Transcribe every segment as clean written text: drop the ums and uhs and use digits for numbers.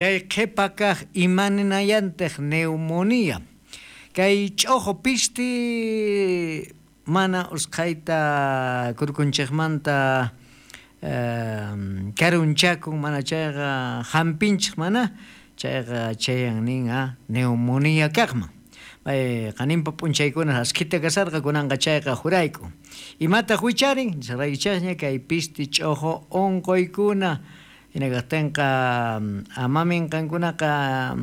Kay qhepa kaq imaninayantej neumonía. Kay ch'ojo pisti mana usqhayta kurkunchejmanta karunchakun, mana chayqa jampinchej mana, chayqa chayan nin a neumonía kaqman. Qaninpa p'unchaykuna askhita kasarqa, kunanqa chayqa jurayk'un. Imataq wicharin? Nisqaraykichejña kay pisti ch'ojo onqoykuna. Hina kaqtinqa amamin qankunaqa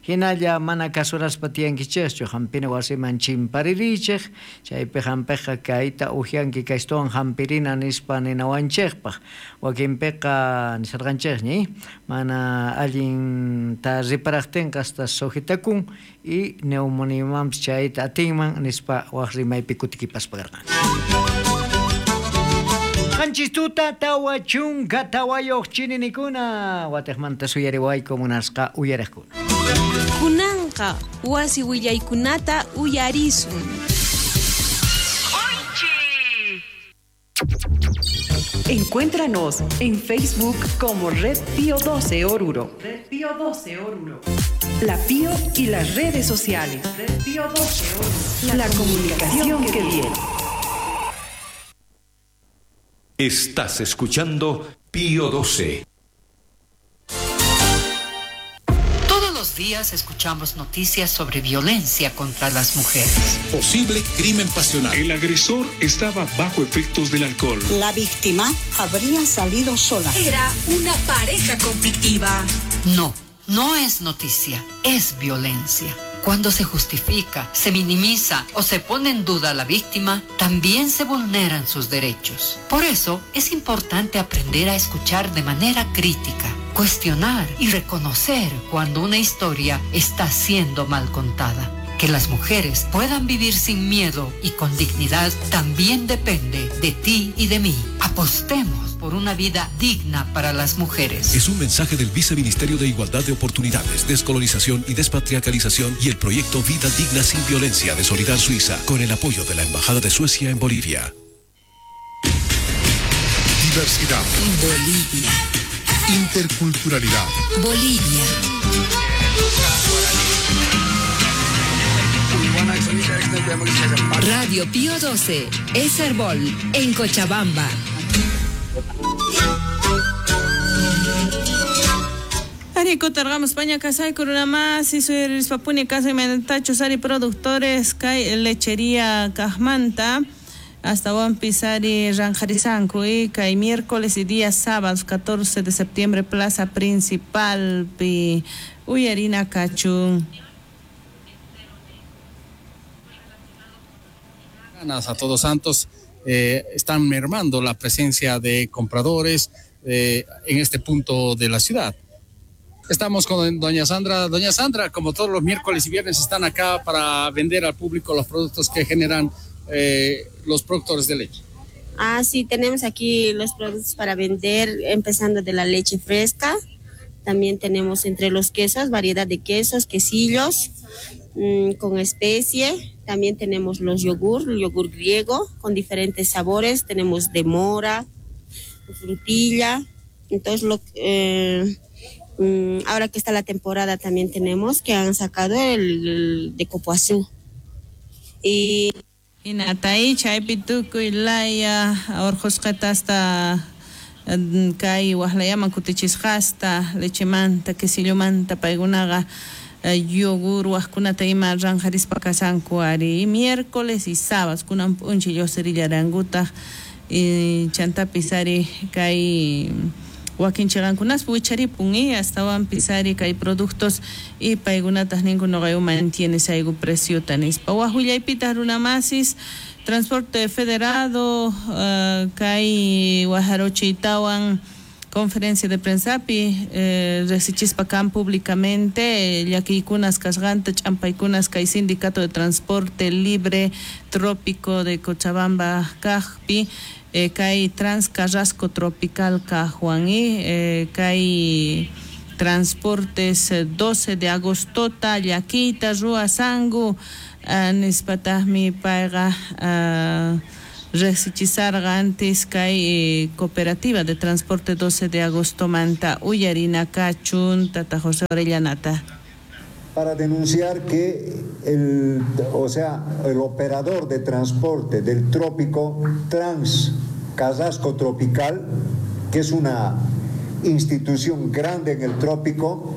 hinalla mana kasuraspa tiyankichejchu, hampina wasiman chimparirichej, chaypi hampiqqa kayta ujyanki kaystuwan hampirina nispa ninawanchejpaq. Wakinpiqa nisharqanchejña, mana allinta riparaqtinqa hasta sujetakun y neumoniamanpis chayta atinman nispa waj rimaypi kutikipaspa karqan. 7 tuta 44 chininikuna watejmanta suyariwayku munasqa uyariqkuna. Kunanqa wasi willaykunata uyarisun. Encuéntranos en Facebook como Red Pío 12 Oruro. Red Pío 12 Oruro. La Pío y las redes sociales. Red Pío 12 Oruro. La comunicación que viene. Estás escuchando Pío 12. Todos los días escuchamos noticias sobre violencia contra las mujeres. Posible crimen pasional. El agresor estaba bajo efectos del alcohol. La víctima habría salido sola. Era una pareja conflictiva. No, no es noticia, es violencia. Cuando se justifica, se minimiza o se pone en duda a la víctima, también se vulneran sus derechos. Por eso es importante aprender a escuchar de manera crítica, cuestionar y reconocer cuando una historia está siendo mal contada. Que las mujeres puedan vivir sin miedo y con dignidad también depende de ti y de mí. Apostemos por una vida digna para las mujeres. Es un mensaje del Viceministerio de Igualdad de Oportunidades, Descolonización y Despatriarcalización y el proyecto Vida Digna Sin Violencia de Solidar Suiza, con el apoyo de la Embajada de Suecia en Bolivia. Diversidad. Bolivia. Interculturalidad. Bolivia. Radio Pío 12, Eserbol, en Cochabamba. Arico targamos España kasay kurunamasi suyarispapuni kasay manatachu sari productores kay lechería Cajmanta hasta Pisari Ranjarisanku y kay miércoles y día sábados 14 de septiembre plaza principal pi uyarina kachun. A Todos Santos están mermando la presencia de compradores en este punto de la ciudad. Estamos con doña Sandra. Doña Sandra, como todos los miércoles y viernes, están acá para vender al público los productos que generan los productores de leche. Ah, sí, tenemos aquí los productos para vender, empezando de la leche fresca. También tenemos entre los quesos, variedad de quesos, quesillos con especie. También tenemos los yogur, el yogur griego con diferentes sabores. Tenemos de mora, frutilla. Entonces, ahora que está la temporada también tenemos que han sacado el de copoazú. Y Inatay, chaypi tukuy laya, orqhusqata hasta kay waqlayaman kutichisqasta, lechemanta, quesillomanta, paykunaqa yogur waqkunata ima ranjarispa kasanku ari. Miércoles y sábados kunan p'unchay lluqsirillarankutaj chantapis ari kay wakin chiqankunaspa wicharipun astawanpis ari kay productos y paykunataq ninku nuqayku mantienes ayku preciota nispa. Waq willaypitaq runamasis Transporte Federado kay Wajarochiytawan conferencia de prensapi riqsichispa kan públicamente llakiykunas kasqanta ch'ampaykunas kay Sindicato de Transporte Libre Trópico de Cochabamba kaqpi kay Trans Carrasco Tropical kaqwan kay Transportes 12 de agostota llakiyta ruwasanku nispataqmi payqa Rejsichisarqa antes kay cooperativa de transporte 12 de agosto manta uyarina kachun tata José Orellanata. Para denunciar que el operador de transporte del trópico Trans Carrasco Tropical, que es una institución grande en el trópico,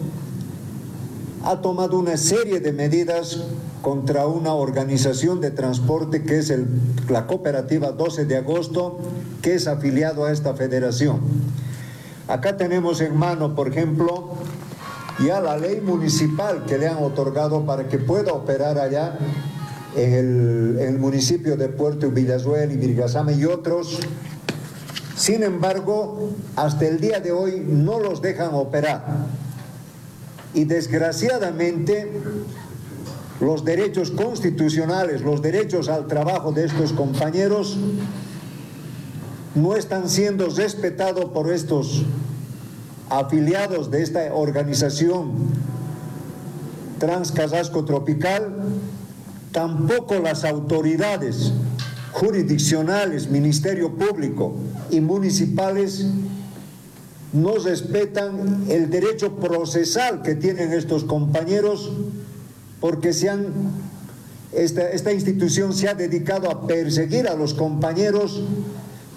ha tomado una serie de medidas contra una organización de transporte que es la cooperativa 12 de agosto, que es afiliado a esta federación. Acá tenemos en mano, por ejemplo, ya la ley municipal que le han otorgado para que pueda operar allá en el municipio de Puerto Villazuel y Virgasama y otros. Sin embargo, hasta el día de hoy no los dejan operar. Y desgraciadamente, los derechos constitucionales, los derechos al trabajo de estos compañeros no están siendo respetados por estos afiliados de esta organización Trans Carrasco Tropical. Tampoco las autoridades jurisdiccionales, Ministerio Público y municipales no respetan el derecho procesal que tienen estos compañeros, porque esta institución se ha dedicado a perseguir a los compañeros.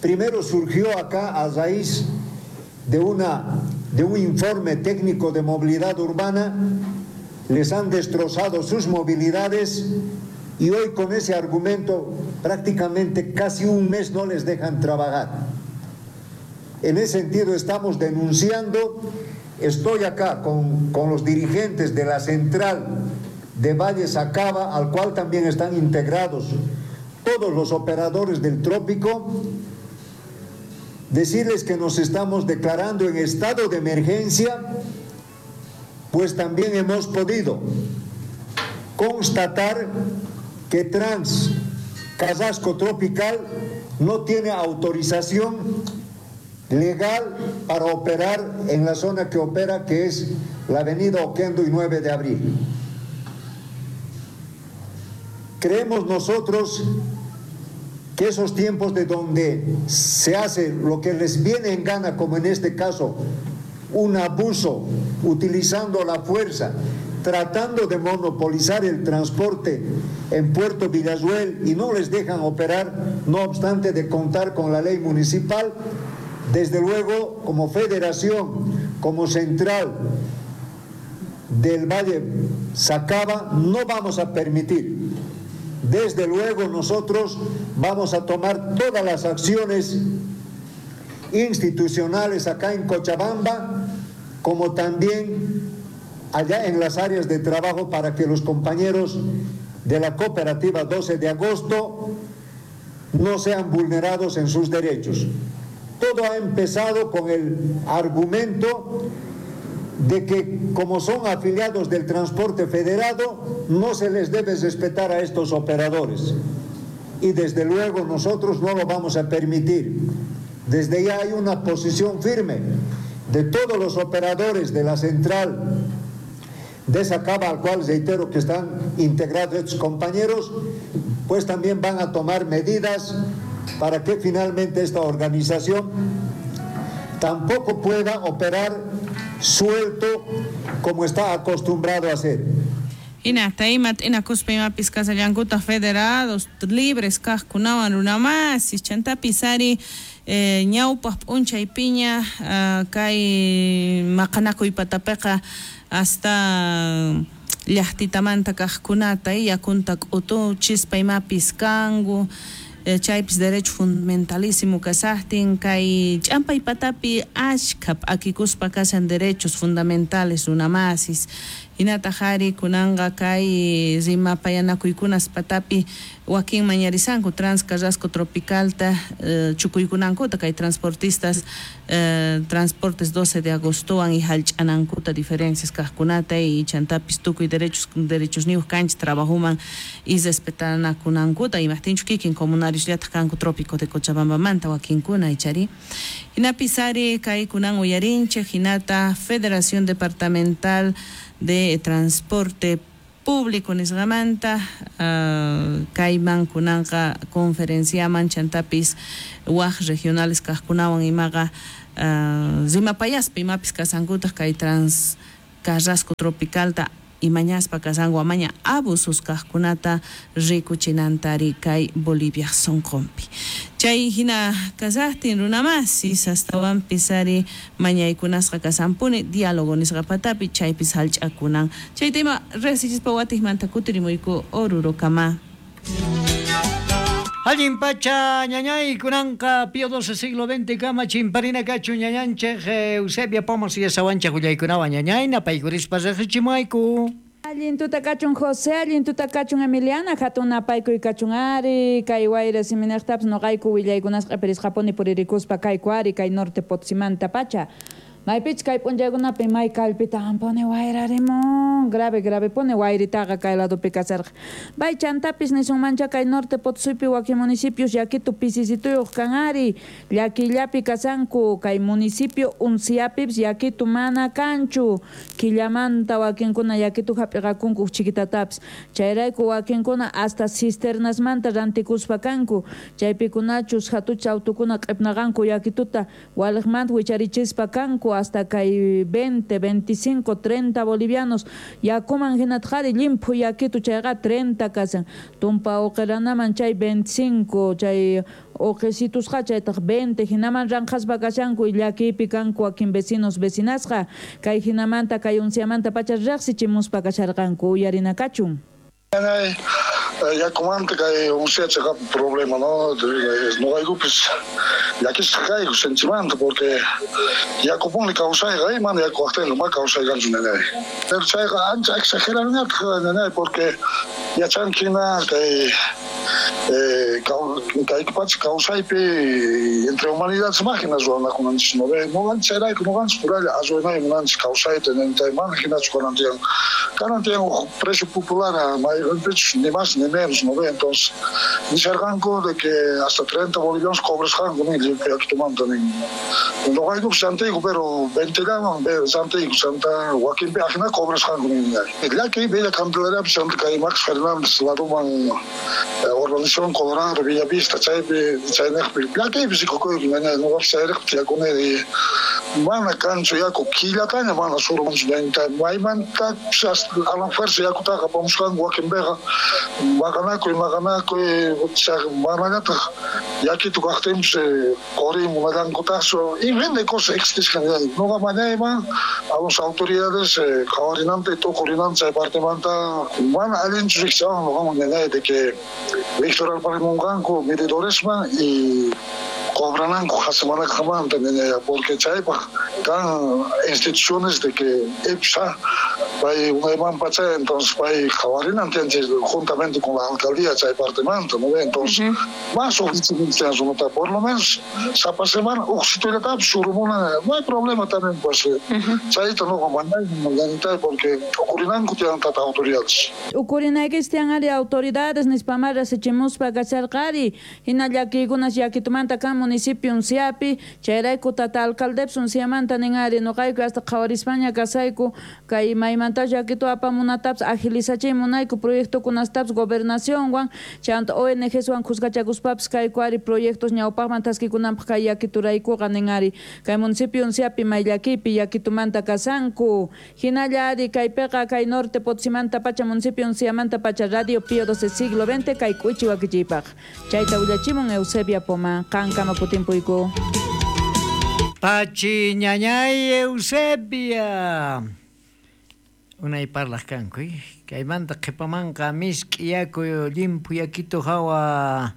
Primero surgió acá a raíz de un informe técnico de movilidad urbana, les han destrozado sus movilidades y hoy con ese argumento prácticamente casi un mes no les dejan trabajar. En ese sentido estamos denunciando, estoy acá con los dirigentes de la central de Valle Sacaba, al cual también están integrados todos los operadores del trópico, decirles que nos estamos declarando en estado de emergencia, pues también hemos podido constatar que Trans Carrasco Tropical no tiene autorización legal para operar en la zona que opera, que es la avenida Oquendo y 9 de abril. Creemos nosotros que esos tiempos de donde se hace lo que les viene en gana, como en este caso, un abuso utilizando la fuerza, tratando de monopolizar el transporte en Puerto Villazuel y no les dejan operar, no obstante de contar con la ley municipal, desde luego como federación, como central del Valle Sacaba, no vamos a permitir. Desde luego nosotros vamos a tomar todas las acciones institucionales acá en Cochabamba, como también allá en las áreas de trabajo, para que los compañeros de la cooperativa 12 de agosto no sean vulnerados en sus derechos. Todo ha empezado con el argumento de que como son afiliados del transporte federado, no se les debe respetar a estos operadores. Y desde luego nosotros no lo vamos a permitir. Desde ya hay una posición firme de todos los operadores de la central de Sacaba, al cual reitero que están integrados estos compañeros, pues también van a tomar medidas para que finalmente esta organización tampoco pueda operar suelto como está acostumbrado a hacer. Hinata imat inakuspa imapis kasallankuta federados libres kajkunawan runamasis chantapis ari ñawpaq p'unchay piña kay maqanakuy patapiqa hasta llaqtitamanta kajkunata yakunta k'utuchispa imapis kanku chaypis derecho fundamentalísimo kasaqtin kay ch'ampay patapi ashkha p'akikuspa kashan derechos fundamentales runamasis. Hinataq ari kunanqa kay rimapayanakuykunas patapi wakin mañarisanku Trans Carrasco Tropicalta chukuykunankuta kay transportistas transportes 12 de agostowan y hallch'anankuta diferencias kajkunata y chantapis tukuy derechos niyuq kanchis trabajuman y respetanakunankuta imaqtinchu kikin comunarios llataq kanku trópico de Cochabambamanta wakinkuna ichari. Hinapis ari kay kunan uyarinchik hinata Federación Departamental de Transporte Público nisqamanta kayman kunanqa conferenciaman chantapis wak regionales kaqkunawan imaqa rimapayaspa imapis kasankutaq kay Trans Carrasco Tropicalta imañaspa kasanku amaña abusos kaqkunata rikuchinantari kay Bolivia sonqonpi. Chay hina kasaqtin runamasis astawanpis ari mañaykunasqa kasanpuni diálogo nisqa patapi chaypis hallch'akunan. Chay tema riqsichispa watiqmanta kutirimuyku Orurokama. Allin pacha ñañay kunanqa Pío XII siglo XX kama chimparina kachu ñañanchej Eusebia Pomos y esawanchej willaykunawan ñañay napaykurispa riqsichimuayku. Allin tuta kachun José, allin tuta kachun Emiliana, hatun napaykuy kachun ari, kay wayra siminaqtapas noqayku willaykunasqa q'ipirisqapuni puririkuspa kayku ari, kay norte Potosímanta pacha. Maypichus kay p'unchaykunapi may kallpita ampuni wayrarimun, grave grave puni wayritaqa kay ladopi kasarqa. Bay chantapis nisunmancha kay norte Potosípi wakin municipios llakitu pisisituyuq kan ari, llakillapi kasanku kay municipio Unciapipis llakitu mana kanchu, killamanta wakinkuna llakitu hap'iqakunku chiquitatapis, chayrayku wakinkuna hasta cisternasmanta rantikuspa kanku, chaypikunachus hatucha autukuna q'ipnaqanku llakituta waliqmanta wicharichispa kanku hasta kay 20, 25, 30 bolivianos yakuman hinatqari llimphu yakitu chayqa 30 kasan, tumpa uqiranaman chay 25 chay uqisitusqa chaytaq 20 hinaman ranqaspa kashanku llakiypi kanku wakin vecinos vecinasqa kay hinamanta kay unciamanta pacha riqsichimuspa kasharqanku uyarina kachun. Yakumanta kay uncia chayqa problema, no? Noqaykupis llakisqa kayku sinchimanta porque yakupuni kawsayqa mana yaku waqtinqa ma kawsaykanchu nanay. Pero chayqa ancha exageranñataq nanay porque yachanki hina kay kay pacha kawsaypi entre humanidades máquinas ruwanakunanchis, no ve? Noqanchis chayrayku noqanchis puralla arruinay munanchis kawsayta nintay mana hinachu kanan tiyan. Kanan tiyan uj precio popular mayqinpichus ni más ni menos, no ve? Entonces nisharqanku de que hasta 30 bolivianos cobrasqanku nin limpio yakitumanta nin. Noqaykupis rantiyku pero 20 llaman rantiyku chanta wakinpi ajina cobrasqanku nin. Llaki Villa Candelariapi chanta kay Max Fernández ladoman urbanización Colorado, Villa Vista, chaypi chayniqpi llakiypi rikukuyku ñañay noqapis chayraqpi tiyakuni mana kanchu yaku killataña mana surmunchu ñañay maymanta a la fuerza yakutaqa apamusqanku wakinpiqa maqanakuy manallataq yakitu kaqtinpis quriy munallankutaqchu y vende cosas existisqan noqa mañayman a las autoridades qhawarinanta tukurinanta chay partemanta mana allinchu riqchawan noqaman ñañay de que Víctor Alparimunqanku medidoresman y cobrananku hasemanaqamanta ñañaya porque chaypaq kan instituciones de que EPSA pay unayman pacha entonces pay qhawarinan tiyanchis juntamente con la alcaldía chay partemanta, ¿no? Entonces más oficinas por lo menos sapa semana uqsitullatapis surumuna no hay problema también pues chayta noqa mañay porque uqurinanku tiyan tata autoridades. Uqurinaykis tiyan ari autoridades nispamara riqsichimuspa kasharqari hina llakiykunas llakitumanta kan municipio Unciapi chayrayku tata alcaldepis Unciamanta nin ari noqayku hasta qhawarispaña kasayku kay maymanta llakitu apamunatapis agilizachiy munayku proyectokunastapis gobernacionwan chanta ONGswan khuskachakuspapis kayku ari proyectos ñawpaqman taskikunanpaq kay yakituraykuqa nin ari kay municipio Unciapi may llakipi yakitumanta kasanku hinalla ari kaypiqa kay norte Potosímanta pacha municipio Unciamanta pacha Radio Pío XII siglo XX kay k'uchi wakichiypaq chayta willachimun Eusebia Poma qankama kutimpuyku. Pachi ñañay Eusebia unay parlaq kanku kaymanta qhipamanqa misk'i yaku llimphu yakitu hawa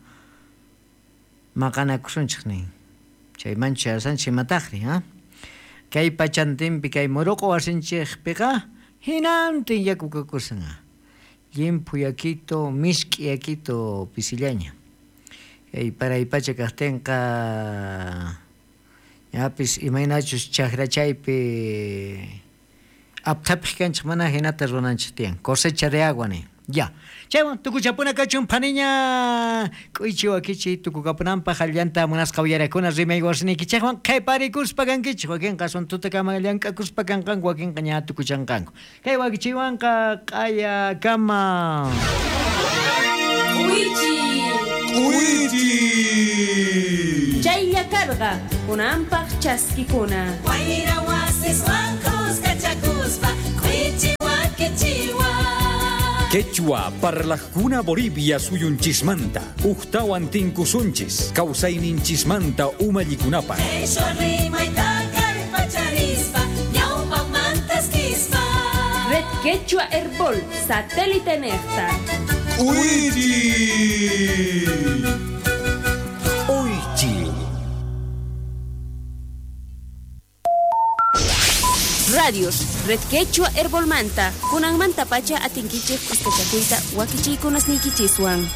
maqanakusunchik nin chaymanchu yasanchik imataqri ha kay pachantinpi kay muruqu wasinchikpiqa hinantin yaku kakusan llimphu yakitu misk'i yakitu pisillaña kay paray pacha kaqtinqa ñapis imaynachus chakrachaypi apthapiq kanchik mana hinata runanchik tiyan cosecha de agua ni Ya. Chaywan tukuchapuna kachun phaniña k'uychi wakichi tukukapunanpaq allanta munasqa uyarakuna rimay wasiniykichikwan qhiparikuspa kankichik wakinqa asuntutakama llank'akuspa kanqanku wakinqa ña tukuchanqanku. Kay wakichiwanqa q'ayakama. K'uychi. K'uychi. Chaylla karqa kunanpaq chaskikuna. Wayra wasiswan kuskachakuspa k'uychi wakichiwan. Quechua parlajkuna Bolivia suyunchismanta ujtawan tinkusunchis kawsayninchismanta umallikunapaq. Qhishwa rimayta kallpacharispa ñawpaqmantas kispa. Red Quechua Herbol, satélite nejta. K'uychi. Uychi. Radios, Red Quechua Herbolmanta, kunanmanta pacha atinkichik kuskachakuyta wakichiykunasniykichiswan.